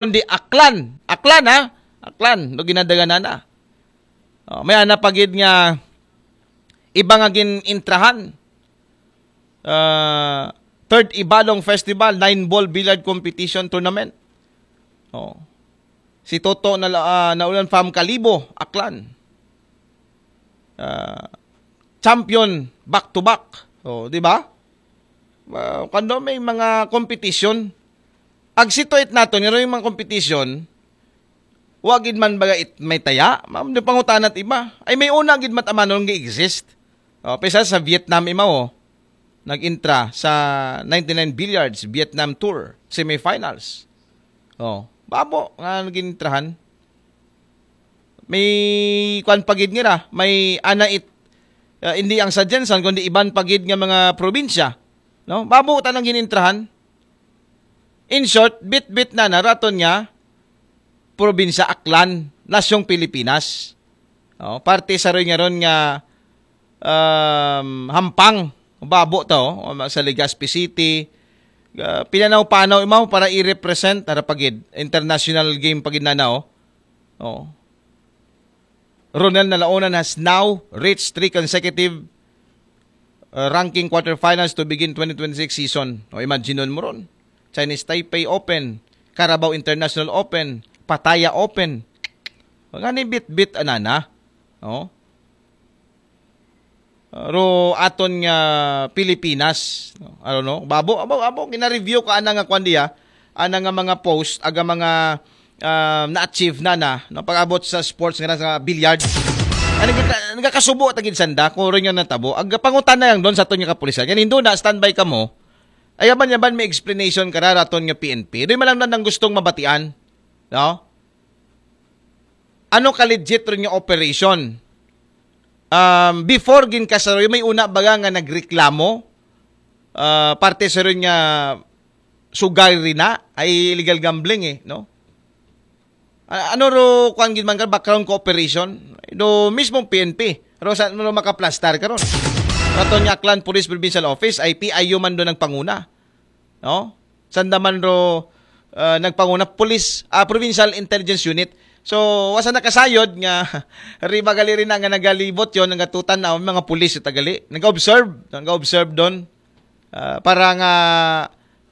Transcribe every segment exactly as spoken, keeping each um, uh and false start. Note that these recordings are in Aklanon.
Kundi Aklan. Aklan, ha? Aklan, do ginadaganan na. Oh, may ana pa gid nga iba nga gin-intrahan. Ah, third Ibalong Festival, nine ball billiard competition tournament. Oh. Si Toto na, ah, Naulan from Kalibo, Aklan. Ah, champion back to back. Oh, di ba? Ah, kando may mga competition. Ag situate nato, nga yung mga competition, wa gid man baga it may taya, ma'am, di pangutana it iba. Ay, may una gid mat amanon nga exist. Oh, pesa sa Vietnam imaw, oh. Nag-intra sa ninety-nine Billiards Vietnam Tour semifinals. Oh, babo nga nag-intrahan. May kwan pa gid nira, may ana it, ah, hindi ang sa Jensen, kundi iban pa gid nga mga probinsya. No? Babo ta nang ginintrahan. In short, bit-bit na na raton nga probinsya Aklan, nasyong Pilipinas. Oh, parte sa ron nga ron nga, um, hampang, babo to, oh, sa Legazpi City. Ah, pinanaw-panaw imaw para i-represent, ara pagid, international game pagid na na, oh. Oh. Ronel Nalaonan has now reached three consecutive, uh, ranking quarterfinals to begin twenty twenty-six season. O, imagine mo ron. Chinese Taipei Open, Carabao International Open, Pattaya Open. Nga ni bit-bit anana. Oh. Ro aton nga Pilipinas. No? I don't know. Babo, abo, abo, gina-review ka ana nga kwan diya. Ana nga mga post, aga mga, ah, na-achieve na na, no? Pag-abot sa sports nga sa billiard. Ay, nagka-, nagkakasubo tagid sanda, kung rin nga natabo. Aga pangutana lang doon sa aton nga kapulisan. Yan, hindi na, standby ka mo. Ay, yaban, yaban, may explanation ka ra, raton nga P N P. Doon man lang na nang gustong mabatian. No? Ano ka legit ron nga operation? Um, before ginkasaroy, may una baga nga nagreklamo, ah, parte sa ron nga sugay rin na, ay illegal gambling eh, no? A-, ano ro, kuan gid man ka, background cooperation? Do mismo P N P. Ro sa, ro makaplastar ka ron. Raton nga Aklan Police Provincial Office, ay P I U man do nagpanguna. No? Sandaman ro, ah, nagpanguna police, ah, Provincial Intelligence Unit. So, wasa nakasayod nga riba gali rin nga nagalibot yon, nagatutan na mga pulis sa tagali. Nag-observe, nag-observe doon. Ah, para nga,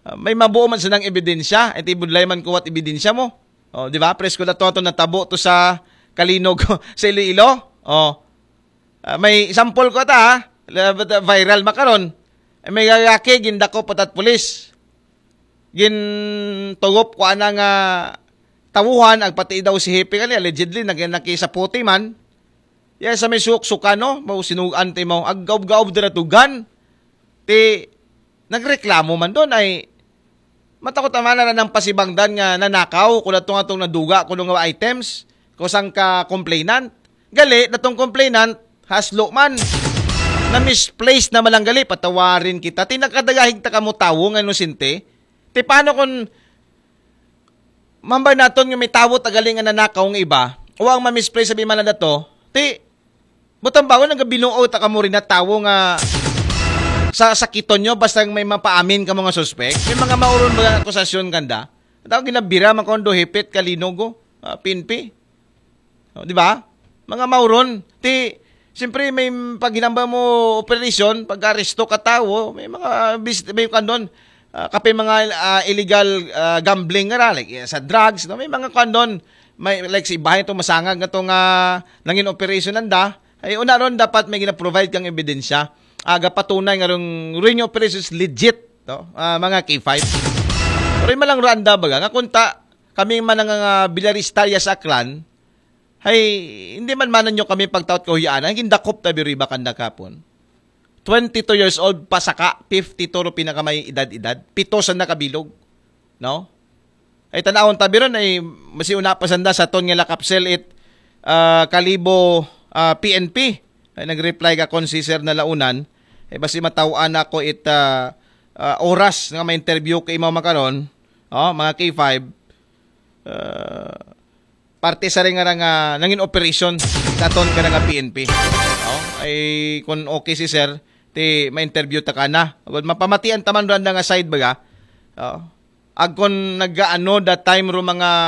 ah, may mabuo man silang ebidensya, iti budlay man kuwat ebidensya mo. Oh, di ba? Presko na to, to natabo to sa Kalinog sa Iloilo. Oh. Ah, may sample ko ta, ha? La-, but, ah, viral makaron. Eh, may lalaki, gindakop patat pulis. Gintugop ko ana nga tawuhan, agpati daw si Hepe kani, allegedly, nag-, nakisaputi man. Ya, sa may suksukan, no? Mao sinugan ti mao, aggaob-gaob dira tugan. Ti, nagreklamo man doon ay, matakot naman na ng pasibangdan nga nanakaw, kung atong atong naduga, kung nga items, kung saan ka complainant. Gali, datong complainant, haslo man. Na-misplace na malang gali, patawarin kita. Ti nakadagahig ta kamo tawo nga inosente. Ti paano kung mambay naton nga may tawo tagali nga nanakaw nga iba, o ang ma-misplace sabi man na dato, ti, butang bago nagabinuo ta kamo rin na tawo nga sa sakiton nyo, basta may mapaamin ka mga suspek. May mga mauron mga akusasyon kanda. Tao ginabira, makondo, hipit, kalinog, oh, ah, P N P. Oh, di ba? Mga mauron. Ti, siyempre, may paghinamba mo operasyon, pag-aresto ka tao, may mga bis-, may kandon, ah, kapin mga, ah, illegal, ah, gambling nga ra, like, eh, sa drugs, no? May mga kandon, may, like, si bahay to masangag nga to nga nangin operation nanda, ay una ron dapat may gina-provide kang ebidensya. Aga patunay nga rong ring operation is legit, no? Ah, mga K five. Pero yung malang randa baga, nga kunta, kami man nga, ah, bilaristarya sa Aklan, hay, hindi man manan nyo kami pagtaot kahuyanan, gindakop ta biro iba kanda kapon. Twenty-two years old, pasaka, fifty-two ro pinakamay edad-edad, pito sa nakabilog. No? Ay, tanawon ta biron, ay, masiuna pa sanda sa ton nga lakapsel it, ah, Kalibo, ah, P N P. Ay, nag-reply ka kon si Sir Nalaunan. Ay, basi matawaan ako it, ah, ah, oras nga ma-interview kay imaw makaron. Oh, mga K five. Ah, parte sa rin nga ra nga nangin operation daton ka nga P N P. Oh, ay, kung okay si Sir, ti ma-interview ta ka na. Agud mapamatian taman randa nga side baga. Oh. Agkon nagaano that time ro mga